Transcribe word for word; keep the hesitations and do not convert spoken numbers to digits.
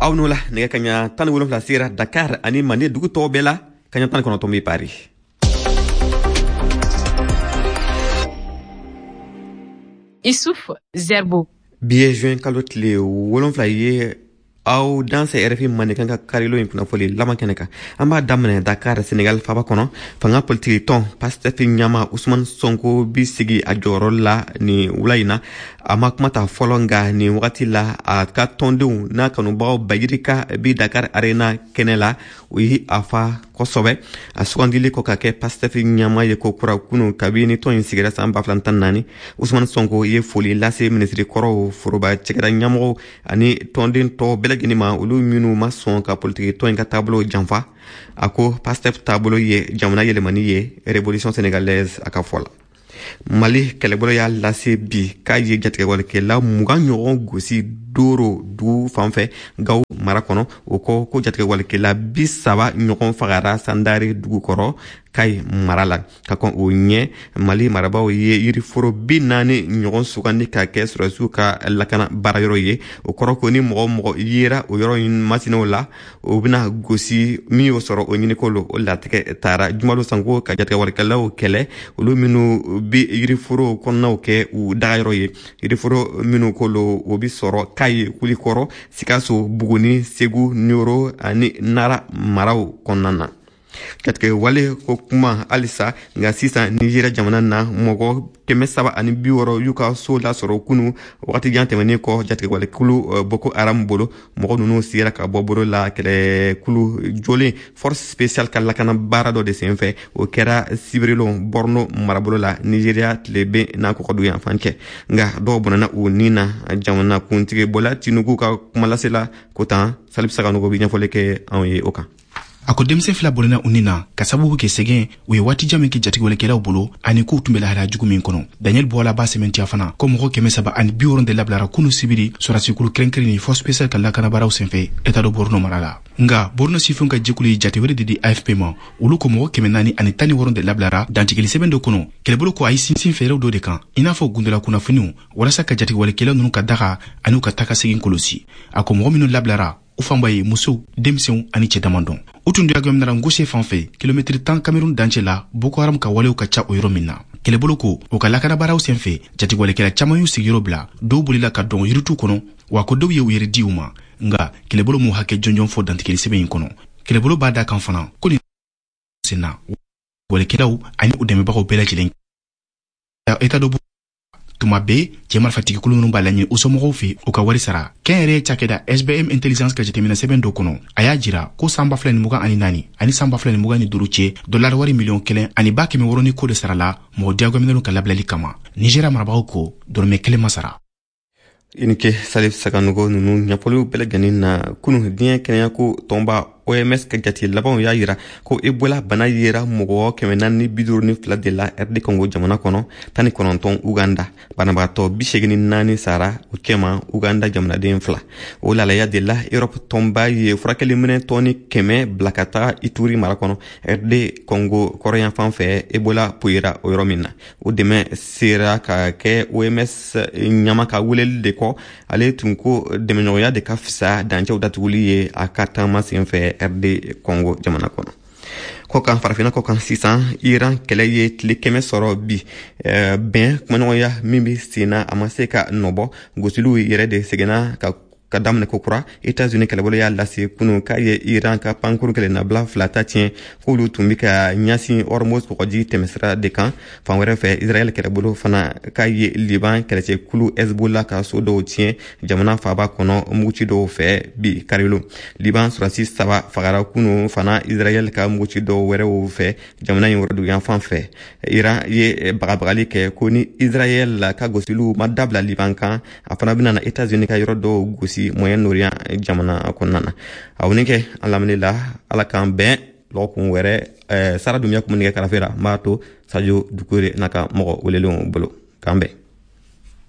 Aw n'o la nɛgɛ kaɲa tan ni wolonfila sera Dakar ani Mande dugu tɔw bɛɛ la, kaɲa tan ni kɔnɔntɔn bɛ Paris. Issouf Zerbo. Bi ye juin kalo tile wolonfila ye, aw dansɛ R F I Mandenkan ka karilo in kunnafoli laban kɛnɛ kan. An b'a daminɛ Dakar, Senegal faba kɔnɔ. Fanga politiki tɔn Pastef ɲama Usman Sonko bi sigi a jɔyɔrɔ la nin wula in na. A ma kuma ta fɔlɔ, nka nin wagati la a ka tɔndenw n'a kanubagaw bayirika bi Dakar Arena kɛnɛ la. O ye a fa kosɛbɛ a sugandili kɔ ka kɛ Pastef ɲama ye ko kura kunu kabini tɔn in sigira san ba fila tan naani. Usman Sonko ye foli lase minisiri kɔrɔw, foroba cɛkɛda ɲɛmɔgɔw ani tɔnden tɔw bɛɛ lajɛlen ma, olu minnu ma sɔn ka politiki tɔn in ka taabolo janfa. A ko Pastef taabolo ye jamana yɛlɛmani ye, révolution sénégalaise a ka fɔ la. Mali kɛlɛbolo y'a lase bi k'a ye jatigɛwalekɛla mugan ɲɔgɔn gosi Doro dugu fan fɛ Gawo mara kɔnɔ. O kɔ ko jatigɛwalekɛla bi saba ɲɔgɔn fagara Sandare dugu kɔrɔ Kayi mara la. Ka kɔn o ɲɛ, Mali marabaaw ye yiriforo bi naani ɲɔgɔn sugandi ka kɛ sɔrɔdasiw ka lakana baarayɔrɔ ye. O kɔrɔ ko ni mɔgɔ mɔgɔ yera o yɔrɔ in masinaw la, o bɛna gosi. Min y'o sɔrɔ, o ɲiniko lo. O latigɛ taara jumalo sanko ka jatigɛwalekɛlaw kɛlɛ, olu minnu bi yiriforo kɔnɔnaw kɛ u dagayɔrɔ ye. Yiriforo minnu ko lo, o bi sɔrɔ Kayi, Kulikɔrɔ, Sikaso, Buguni, Segu, Niyoro ani Nara maraw kɔnɔna na. Jatigɛ wale ko kuma halisa, nka sisan Nizeriya jamana na, mɔgɔ kɛmɛ saba ani bi wɔɔrɔ y'u ka so lasɔrɔ kunu, wagati jan tɛmɛnen kɔ jatigɛwalekulu Boko Haram bolo. Mɔgɔ ninnu sera ka bɔ bolo la kɛlɛkulu jɔlen force spéciale ka lakana baara dɔ de senfɛ. O kɛra sibirilon Borno marabolo la, Nizeriya tileben n'a kɔkɔdu yanfan cɛ, nka dɔw bɔnɛna u ni na. Jamana kuntigi Bola Tinubu ka kumalasela ko tan. Salif Saganogo bi ɲɛfɔli kɛ anw ye o kan. A ko denmisɛn fila bɔnɛna u ni na ka sababu kɛ sɛgɛn u ye waati jan min kɛ jatigɛwalekɛlaw bolo ani k'u tun bɛ lahalaya jugu min kɔnɔ. Daniel Bɔla b'a sɛmɛntiya fana ko mɔgɔ kɛmɛ saba ani bi wɔrɔn de labilara kunu sibiri sɔrɔdasikulu kɛrɛnkɛrɛnni force spéciale ka lakanabaraw senfɛ État de Borno mara la. Nga Borno sifinw ka jɛkulu ye jate wɛrɛ de di A F P ma. Olu ko mɔgɔ kɛmɛ naani ani tan ni wɔrɔn de labilara dantigɛli sɛbɛn dɔ kɔnɔ. Kɛlɛbolo ko a ye sinsin fɛɛrɛw dɔ de kan, i n'a fɔ gundola kunnafoniw, walasa ka jatigɛwalekɛlaw ninnu ka daga ani u ka taga segin kɔlɔsi. A ko mɔgɔ minnu labilara, u fanba ye musow, denmisɛnw ani cɛ damadɔn. U tun diyagoyaminara Ngose fan fɛ, kilomɛtiri tan Kamerun dancɛ la, Boko Haram ka walew ka ca o yɔrɔ min na. Kɛlɛbolo ko u ka lakanabaraw senfɛ, jatigɛwalekɛla caaman y'u sigiyɔrɔ bila, dɔw bolila ka dɔn yiritu kɔnɔ, wa ko dɔw ye u yɛrɛ di u ma. Nga kɛlɛbolo m'u hakɛ jɔnjɔn fɔ dantigɛli sɛbɛn in kɔnɔ. Kɛlɛbolo b'a da kan fana ko nin senna walekɛlaw ani u dɛmɛbagaw bɛɛ lajɛlen État de tuma bɛɛ cɛ marifatigikulu ninnu b'a laɲini u somɔgɔw fɛ u ka wari sara. Kɛnyɛrɛye cakɛda S B M Intelligence ka jateminɛ sɛbɛn dɔ kɔnɔ, a y'a jira ko san ba fila ni mugan ani naani ani san ba fila ni mugan ni duuru cɛ, dolari wari miliyɔn kelen ani ba kɛmɛ wɔɔrɔ ni ko de sarala mɔgɔ diyagoyaminɛnw ka labilali kama. Nizeriya marabagaw ko dɔrɔmɛ kelen ma sara. I ni ce Salif Saganogo ninnu ɲɛfɔliw bɛɛ lajɛlen na. Kunu, diɲɛ kɛnɛyako tɔnba O M S ka jate labanw y'a yira ko Ebola bana yera mɔgɔ kɛmɛ naani bi duuru ni fila de la R D Congo jamana kɔnɔ, tan ni kɔnɔntɔn Uganda. Banabagatɔ bi segin ni naani sara o cɛma, Uganda jamanaden fila. O lalaya de la, Europe tɔnba ye furakɛliminɛ tɔni kɛmɛ bila ka taga Ituri mara kɔnɔ, R D Congo kɔrɔyanfan fɛ, Ebola poyira o yɔrɔ min na. O dɛmɛ sera ka kɛ O M S ɲama ka weleli de kɔ. Ale tun ko dɛmɛɲɔgɔnya de ka fisa dancɛw datuguli ye a ka taama senfɛ R D Congo jamana kɔnɔ. Kɔkan, farafinna kɔkan sisan, Iran kɛlɛ ye tile kɛmɛ sɔrɔ bi. Bɛn kumaɲɔgɔnya min bɛ sen na, a ma se ka nɔbɔ. Gosiliw yɛrɛ de seginna ka ka daminɛ kokura. Etats-Unis kɛlɛbolo y'a lase kunu k'a ye Iran ka pankuru kɛlɛnabila fila ta tiɲɛ, k'olu tun be ka ɲasin Hormuz kɔgɔji tɛmɛsira de kan. Fan wɛrɛ fɛ, Israɛl kɛlɛbolo fana k'a ye Liban kɛlɛcɛkulu Hezbollah ka so dɔw tiɲɛ jamana faaba kɔnɔ muguci dɔw fɛ bi karilo. Liban sɔrɔdasi saba fagara kunu fana Israɛl ka muguci dɔw wɛrɛw fɛ jamana in woroduguyanfan fɛ. Iran ye bagabagali kɛ ko ni Israɛl ka gosiliw ma dabila Liban kan, a fana bɛna na Etats-Unis ka yɔrɔ dɔw gosi Moyen-Orient jamana kɔnɔna na. Aw ni kɛ an lamɛnni la, Ala k'an bɛn lɔgɔkun wɛrɛ. Sara Dunbiya kun bɛ nɛgɛ karafe la, n b'a to Sadio Dukure n'a ka mɔgɔ welelenw bolo. K'an bɛn.